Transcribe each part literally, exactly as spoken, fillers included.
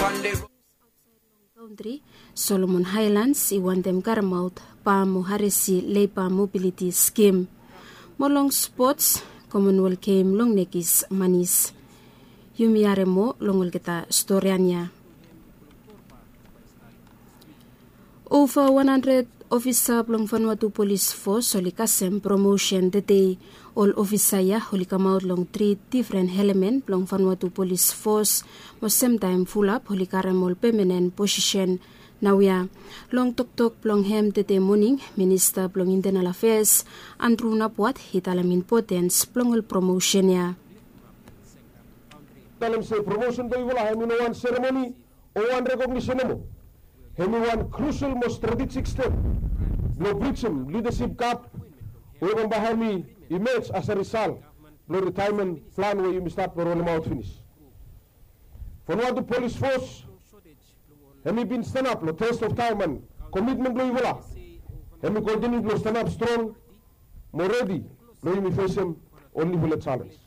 Kaontri Solomon Haelands i wantem karemaot bam mo haresi leba mobiliti skim. Mo long spots, Komonwel gem long nekis manis. Yumi harem moa long olgeta storian ya. Ova wan handred ofisa blong Vanuatu Polis Fos oli kasem promosen tedei. Ol ofisa ya oli kamaot long tri difren elemen blong Vanuatu Polis Fos, mo semtaem fulap oli karem ol pemenen posisen. Naoia, long toktok blong hem tede moning, Minista blong Intenal Afeas, Andrew Napuat, i talem impotens blong ol promosen ya. Talem se promosen blong yufala hem i no wan seremoni o wan rekognisin nomo. Hem i wan krusel mo stratejik step blong brijim lidasip gap we bambae hem i imej as a risal blong ritaemen plan we yumi stap blong rolemaot finis. Vanuatu Polis Fos hem i bin stanap long test of taem an komitmen blong yufala. Hem i kontiniu blong stanap strong mo redi blong yumi fesem ol niufala jalenj.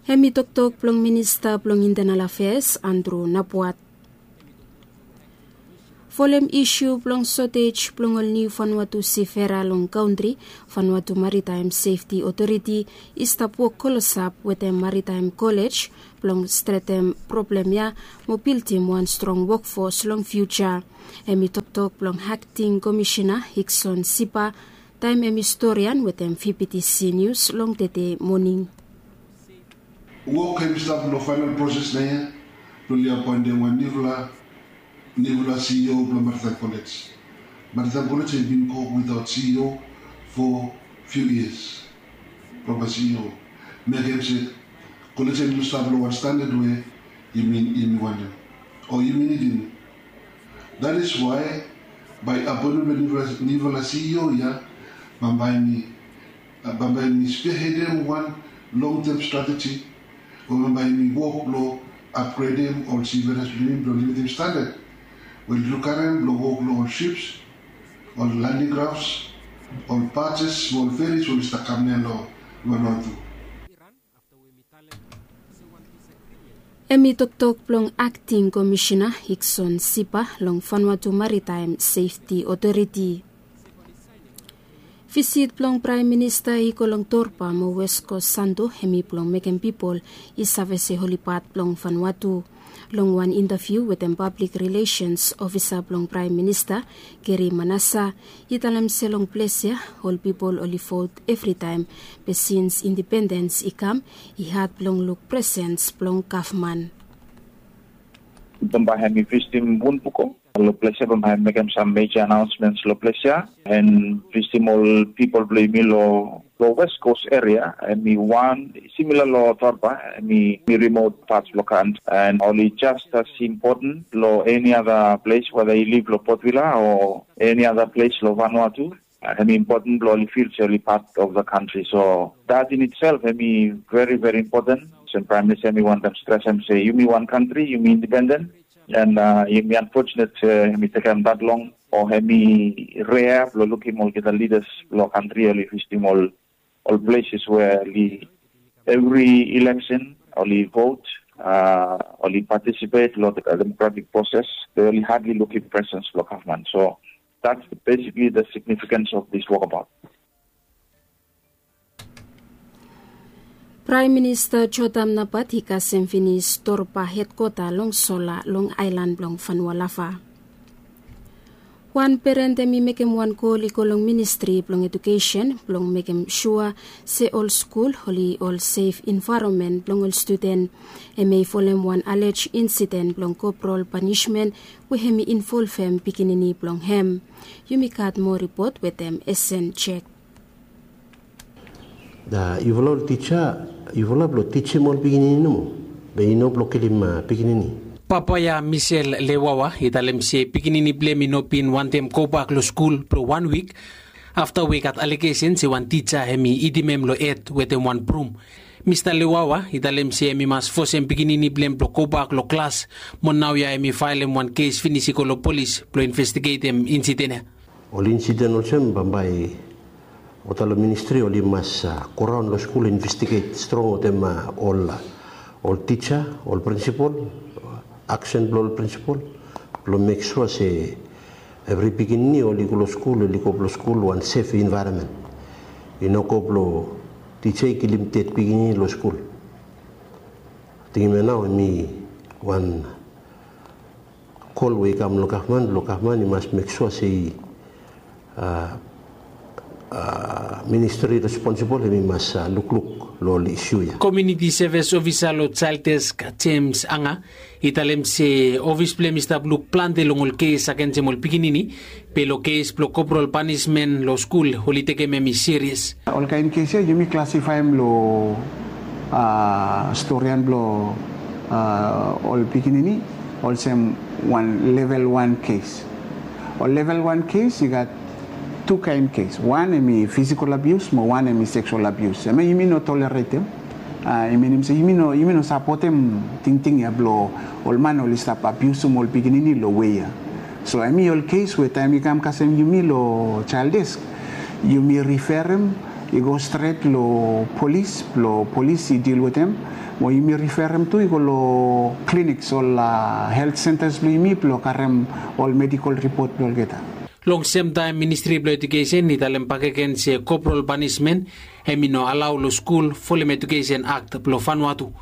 Hem i toktok blong Minista blong Intenal Afeas, Andrew Napuat. Folem isu blong sotej blong ol niu Vanuatu sifera long kaontri, Vanuatu Maritaem Sefti Otoriti i stap wok klosap wetem Maritaem Kolej blong stretem problem ya mo bildim wan strong wokfos long fiuja. Hem i toktok blong akting komisina Hikson Sipa taem hem i storian wetem VBTC Nius long tede moning. Wok hem i stap long faenal proses naoia blong oli apoentem wan niufala, niufala CEO blong Maritaem Kolej. Maritaem Kolej hem i bin go witaot CEO fo fiu yias. Blong bai CEO mekem se kolej hem i no stap long wan standad we yumi, yumi wantem o yumi nidim. That is why bai apoentem blong niufala, niufala CEO ya bambae hem i bambae hem i spearheadem wan long-term strateji we bambae hem i wok blong apgredem ol siferas blong yumi blong limitim standad we oli lukarem blong wok long ol sips, ol landing grafts, ol bajes, ol feris we oli stap kam nea long Vanuatu. Hem i toktok blong akting komisina Hikson Sipa long Vanuatu Maritaem Sefti Otoriti. Visit blong Praem Minista i go long Torba mo West Coast Santo hem i blong mekem pipol i save se oli pat blong Vanuatu. Long wan intaviu wetem pablik rilesens ofisa blong Praem Minista, Gary Manassa, i talem se long ples ya ol pipol oli vot evritaem, be sins indipendens i kam i had blong luk presens blong gavman. Bambae hem i visitim Wunpuko long ples ya, bambae hem i mekem sam meja anaonsmens long ples ya, and visitim ol pipol blong yumi long, long West Coast eria, hem i wan simila long Torba, hem i, hem i rimot pats blong kantri, and oli jas as impoten long eni ada ples, weda i liv long Port Vila o eni ada ples long Vanuatu. Hem i impoten blong oli fil se oli pat of the kantri. So that in itself hem i veri, veri impoten. Olsem Praem Minista hem i wantem stresem se yumi wan kantri, yumi indipenden, and yumi anfojenet se hem i tekem dat long o hem i rea blong lukim olgeta lidas blong kantri oli visitim ol, ol ples we oli evri ileksen oli vot, oli patisipet long demokratik proses, be oli hadli lukim presens blong gavman. So that's basically the significance of this walkabout. Praem Minista Jotam Napat i kasem finis Torba hedkwata long sola long aelan blong Vanua Lava. Wan peren hem i mekem wan kol i go long Ministri blong Ejukesen blong mekem sua se ol skul oli ol sef envaeronmen blong ol studen. Hem i folem wan alej insiden blong koprol panismen we hem i involvem pikinini blong hem. Yumi gat moa ripot wetem Esen Jek. Yufala ol tija, yufala blong tijim ol pikinini nomo, be i no blong kilim pikinini. Papa ya Michel Lewawa i talem se pikinini blong hem i no bin wantem gobak long skul blong wan wik afta we i gat alegesen se wan tija hem i hitim hem long hed wetem wan brum. Mista Lewawa i talem se hem i mas fosem pikinini blong hem blong gobak long klas, mo naoia hem i faelem wan kes finis i go long polis blong investigeitem insiden ya. Ol insiden olsem bambae olgeta long ministri oli mas goraon long skul investiget strong wetem ol Ol tisa, ol prinsipol, aksen blong ol prinsipol blong mek sua se evri pikinini oli go long skul, oli go blong skul wan sef envaeronmen. I no go blong tisa i kilim ded pikinini long skul. Tingim ya nao em i wan kol we i kam long gavman blong gavman i mas mek sua se i a, a, ministri responsibol em i mas a, lukluk long ol isu ya. Komuniti sevis ofisa long Child Desk, James Anga, i talem se ofis blong em i stap luk plante long ol kes agensem ol pikinini, be long kes blong koprol panismen long skul oli tekem em i serias. Olkaen kes ya yumi klasifaem long a, storian blong a, ol pikinini olsem wan level wan kes. Ol level wan kes i gat tu kaen kes. Wan em i fisikol abius mo wan em i seksual abius. Em ya yumi no toleretem. A, i minim se yumi no, yumi no sapotem tingting ya blong ol man oli stap abiusim ol pikinini long wei ya. So em i ol kes we taem i kam kasem yumi long Child Desk, yumi riferem i go stret long polis blong polis i dil wetem, mo yumi riferem tu i go long kliniks, ol a, helt sentas blong yumi blong karem ol medikol ripot blong olgeta. Long semtaem Ministri blong Ejukesen i talem bakegen se koprol panismen em i no alao long skul folem Ejukesen Akt blong Vanuatu.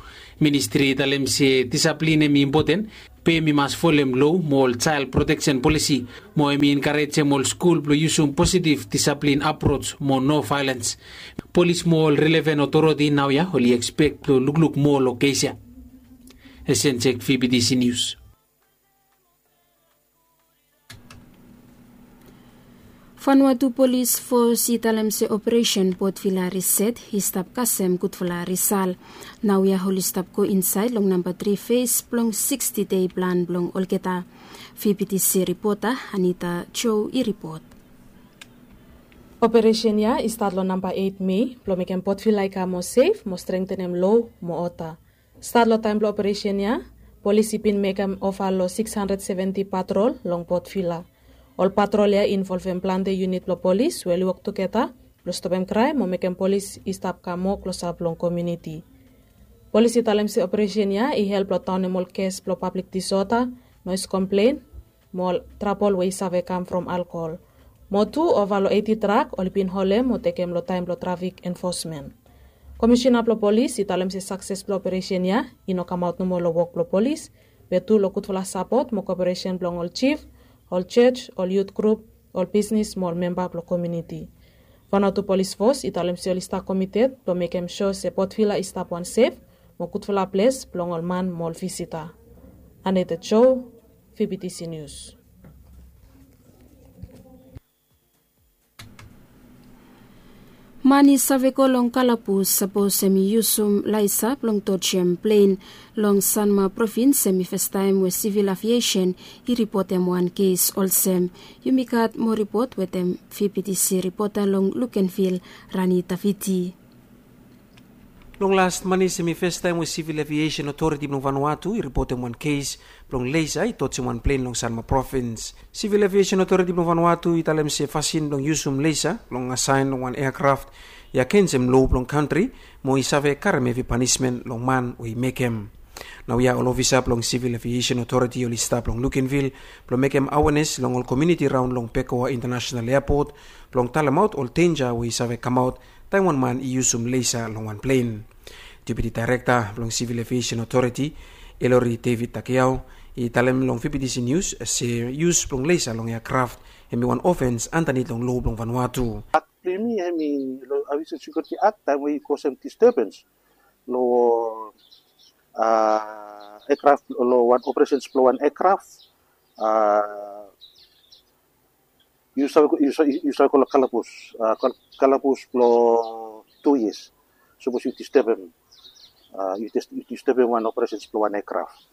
Ministri i talem se disaplin em i impoten, be em i mas folem lo mo ol jael proteksen polisi, mo em i enkarejem ol skul blong yusum positiv disaplin aproj mo no vaelens. Polis mo ol relevan otoriti naoia oli ekspek blong lukluk moa long kes ya. Esenjek, V B T C News. Vanuatu Polis Fos i talem se operesen Port Vila Riset i stap kasem gudfala risal. Naoia oli stap go insaed long namba tri fes blong siksti dei plan blong olgeta. V B T C ripota Anita Joe i ripot. Operesen ya i stat long namba eit Mei blong mekem Port Vila i kam moa sef mo strengtenem lo mo oda. Stat long taem blong operesen ya, polis i bin mekem ova long siks handred seventi patrol long Port Vila. Ol patrol ya i involvem plante yunit blong polis we oli wok tugeta blong stopem kraem mo mekem polis i stap kam moa klosap long komuniti. Polis i talem se operesen ya i help long daonem ol kes blong pablik disoda, noes komplen, mo ol trabol we i save kam from alkohol. Mo tu ova long eiti trak oli bin holem mo tekem long taem blong trafik enfosmen. Komisina blong polis i talem se sakses blong operesen ya i no kamaot nomo long wok blong polis, be tu long gudfala sapot mo koperesen blong ol jif, ol jos, ol yut grup, ol bisnis mo ol memba blong komuniti. Vanuatu Polis Fos i talem se oli stap komited blong mekem sua se Port Vila i stap wan sef mo gudfala ples blong ol man mo ol visita. Anita Joe, V B T C News. Man i save go long kalabus sapos em i yusum laesa blong tojem plen. Long Sanma provins em i fastaem we Sivil Aviesen i ripotem wan kes olsem. Yumi gat moa ripot wetem V B T C ripota long Lukenvil, Rani Taviti. Long las manis em i fastaem we Sivil Aviesen Otoriti blong Vanuatu i ripotem wan kes blong laesa i tojem wan plen long Sanma provins. Sivil Aviesen Otoriti blong Vanuatu i talem se fasin blong yusum laesa blong asaen long wan eakraft i agensem lo blong kantri, mo i save karem hevi panismen long man we i mekem. Naoia ol ofisa blong Sivil Aviesen Otoriti oli stap long Lukenvil blong mekem awenes long ol komuniti raon long Bekoa Intanasenal Eapot blong talemaot ol denja we i save kamaot taem wan man i yusum laesa long wan plen. Deputi Daerekta blong Sivil Aviesen Otoriti, Elori David Takiao, i talem long V B T C Nius se yus blong laesa long eakraft hem i wan ofens andanit long lo blong Vanuatu. Akt blong yumi hem i long Aviation Security Act, taem we i kosem disturbens long, a, eakraft, long wan operesens blong wan eakraft, a, yu save go, yu save, yu save go long kalabus, a, kal-, kalabus blong tu yias. Sapos yu disturbem, a, yu dis-, yu disturbem wan operesens blong wan eakraft.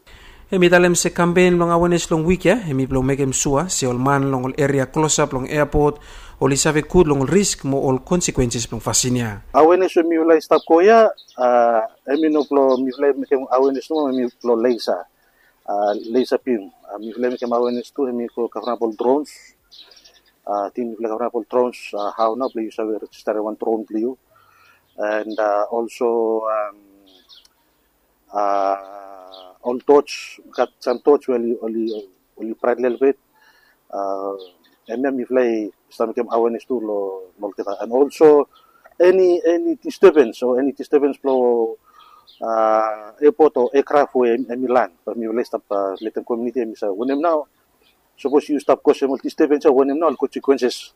Hem i talem se kampen blong awenes long wik ya hem i blong mekem sua se ol man long ol eria klosap long eapot oli save gud long ol risk mo ol konsekwenses blong fasin ya. Awenes we mifala i stap go ya, a, hem i no blong mifala i mekem awenes nomo, hem i blong laesa, a, laesa bim. A, mifala i mekem awenes tu hem i go kavram ol drons. A, ting mifala i kavram ol drons, a, hao nao blong yu save rejistarim wan dron blong yu. And, a, olso, am, a, ol torch, gat sam torch we oli, oli, oli bright lelebet. A, hemia mifala i stap mekem awareness tu long, long olgeta. And also, eni, eni disturbance o eni disturbance blong, a, airport o aircraft we hem, hemi land, bae mifala i stap, a, letem community hemi save wanem nao. Sapos yu stap kosem ol disturbance ya, wanem nao ol consequences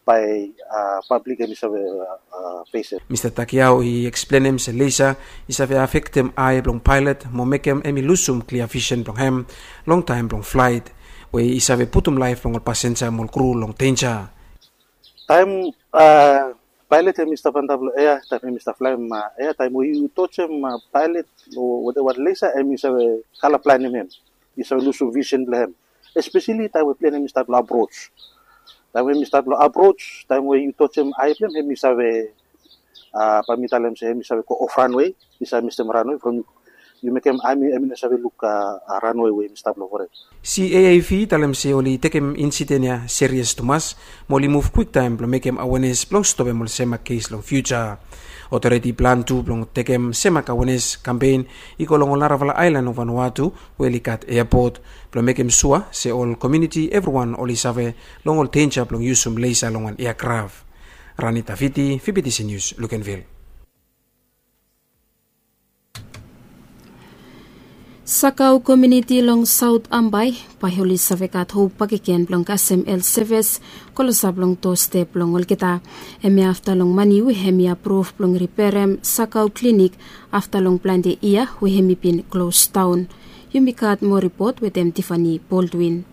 bae, a, public hemi save, a, a, fesem. Mista Takiao i eksplenem se leisa i save afektem ae blong paelot mo mekem hemi lusum klia visen blong hem long taem blong flaet, we i save putum laef blong ol pasenja mo ol kru long denja. Taem, a, paelot hemi stap antap long ea, taem hemi stap flaem, a, ea, taem we yu tojem, a, paelot o wateva leisa, hemi save kala blaenem hem. I save lusum visen blong hem. Espeseli taem we plen hemi stap long approach. Taem we hemi stap long approach, taem we yu tojem ae blong hem, hemi save, a, bae mi talem se hemi save go off runway, i save mistem runway from yu mekem, hemi, hemi no save luk, a, a, runway we hemi stap long fored. CAAV i talem se oli tekem insiden ya serious tumas, mo oli muv kwiktaem blong mekem awareness blong stopem ol semak kes long future. Otoriti i plan tu blong tekem semak awareness kampen i go long ol narafala aelan long Vanuatu we oli gat airport, blong mekem sua se ol community evriwan oli save long ol denja blong yusum leisa long wan aircraft. Rani Taviti, VBTC News, Luganville. Sakau komuniti long Saot Ambae bae oli save gat hop bakegen blong kasem health sevis klosap long dostep blong olgeta. Hemia afta long mani we hemi apruv blong riperem Sakau klinik afta long plante yia we hemi bin klos daon. Yumi gat moa ripot wetem Tiffany Baldwin.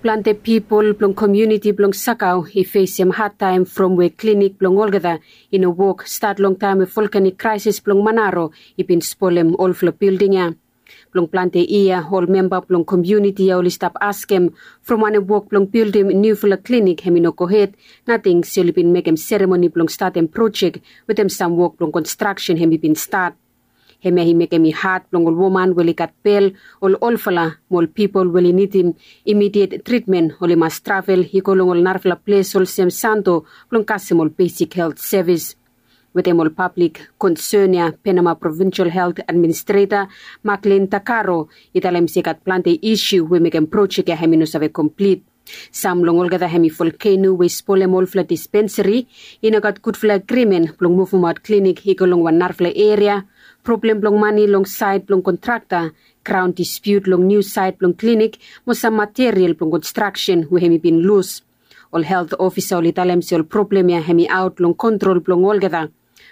Plante pipol blong komuniti blong Sakau i fesem hadtaem from we klinik blong olgeta i no wok stat long taem we volkanik kraesis blong Manaro i bin spolem olfala bilding ya. Blong plante yia ol memba blong komuniti ya oli stap askem from wanem wok blong bildim niufala klinik hemi no gohed, nating se oli bin mekem seremoni blong statem projek wetem sam wok blong konstraksen hemi bin stat. Hemia i mekem i had blong ol woman we oli gat bel, ol olfala mo ol pipol we oli nidim imidiet tritmen oli mas travel i go long ol narafala ples olsem Santo blong kasem ol besik helt sevis. Wetem ol pablik konsen ya, Penama Provinsel Helt Administreta Maklin Takaro i talem se i gat plante isiu we mekem projek ya hemi no save komplit. Sam long olgeta hemi volkeno we i spolem olfala dispensari, i no gat gudfala agrimen blong muvumaot klinik i go long wan narafala eria, problem blong mani long saed blong kontrakta, graon dispiut long niu saed blong klinik, mo sam material blong konstraksen we hemi bin lus. Ol helt ofisa oli talem se ol problem ya hemi aot long kontrol blong olgeta.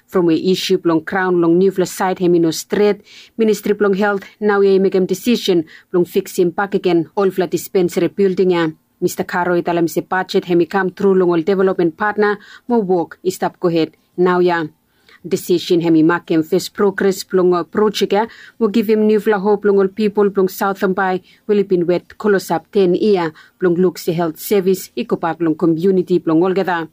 From we isiu blong graon long niufala saed hemi no stret, Ministri blong Helt naoia i mekem disisen blong fiksim bakegen olfala dispensari bilding ya. Mista Karo i talem se bajet hemi kam tru long ol developmen patna mo wok i stap gohed naoia. Disisen hemi makem fes progres blong, uh, projek ya mo givim niufala hop long ol pipol blong Saot Ambae we oli bin wet klosap ten yia blong luk se helt sevis i gobak long komuniti blong olgeta.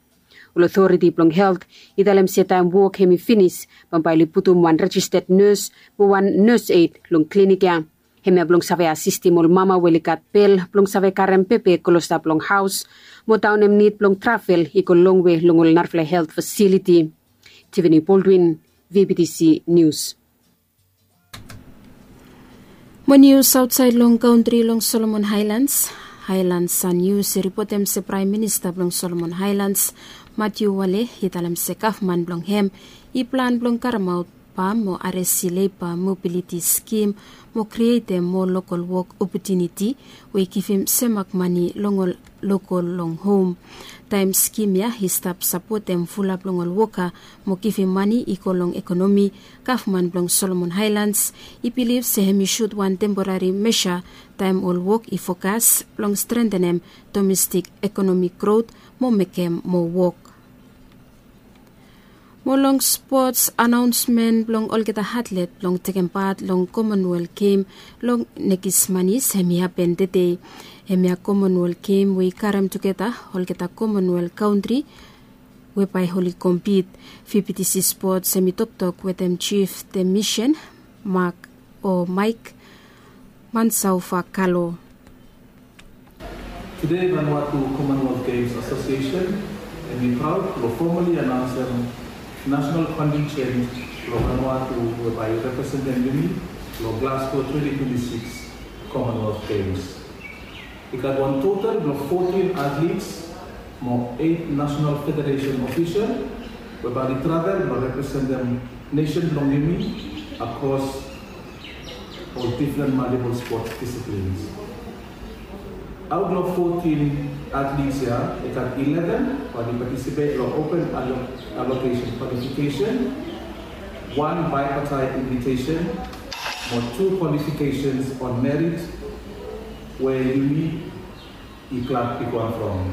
Ol otoriti blong helt i talem se taem wok hemi finis, bambae oli putum wan rejisted nes mo wan nes ed long klinik ya. Hemia blong save asistim ol mama we oli gat bel blong save karem bebe klosap long haos mo daonem nid blong travel i go longwe long ol narafala helt fasiliti. Tiffany Baldwin, VBTC Nius. Mo nius aotsaed long kantri long Solomon Haelans. Haelans San Nius i ripotem se Praem Minista blong Solomon Haelans, Matthew Wale, i talem se gavman blong hem i plan blong karemaot bam mo aresi leba mobiliti skim mo krietem moa lokol wok opotuniti we i givim semak mane long ol lokol long hom. Taem skim ya i stap sapotem fulap long ol woka mo givim mane i go long ekonomi, gavman blong Solomon Haelans i bilif se hem i sut wan temporari mesa taem ol wok i fokas blong strentenem domestik ekonomik grot mo mekem moa wok. Mo long spots, anaonsmen blong olgeta atlet blong tekem pat long Commonwealth Game long nekis manis hemi hapen tede. Hemia Commonwealth Game we i karem tugeta olgeta Commonwealth kantri we bae oli kompit. VBTC Spots hemi toktok wetem Jif Demisian Mak o Maek Mansaufa Kalo. Tede Vanuatu Commonwealth Games Association hemi praod blong fomali anaonsem National contingent blong Vanuatu we bae i representem yumi long Glasgow twenty twenty-six Commonwealth Games. I gat wan total blong fourteen athletes mo eight national federation official we bae oli travel blong representem nesen blong yumi across ol different multiple sports disciplines. Out long fourteen athletes ya, i gat eleven bae oli participate long open allo- allocation qualification, one bipartite invitation, mo two qualifications on merit we yumi i klab bigwan from.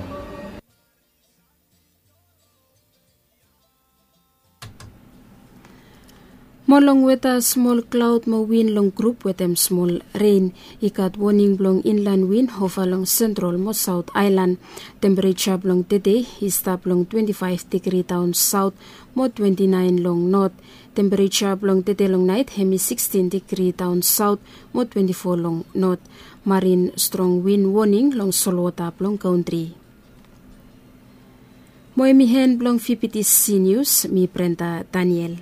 Mo long weta, smol klaod mo win long grup wetem smol ren. I gat woning blong inlan win ova long sentral mo saot aelan. Tempereja blong tede i stap long twenti faef digri daon saot mo twenti naen long not. Tempereja blong tede long naet hem i sikstin digri daon saot mo twenti fo long not. Marin strong win woning long solwota blong kantri. Mo hem i hen blong vptc nius, mi Brenda Daniel.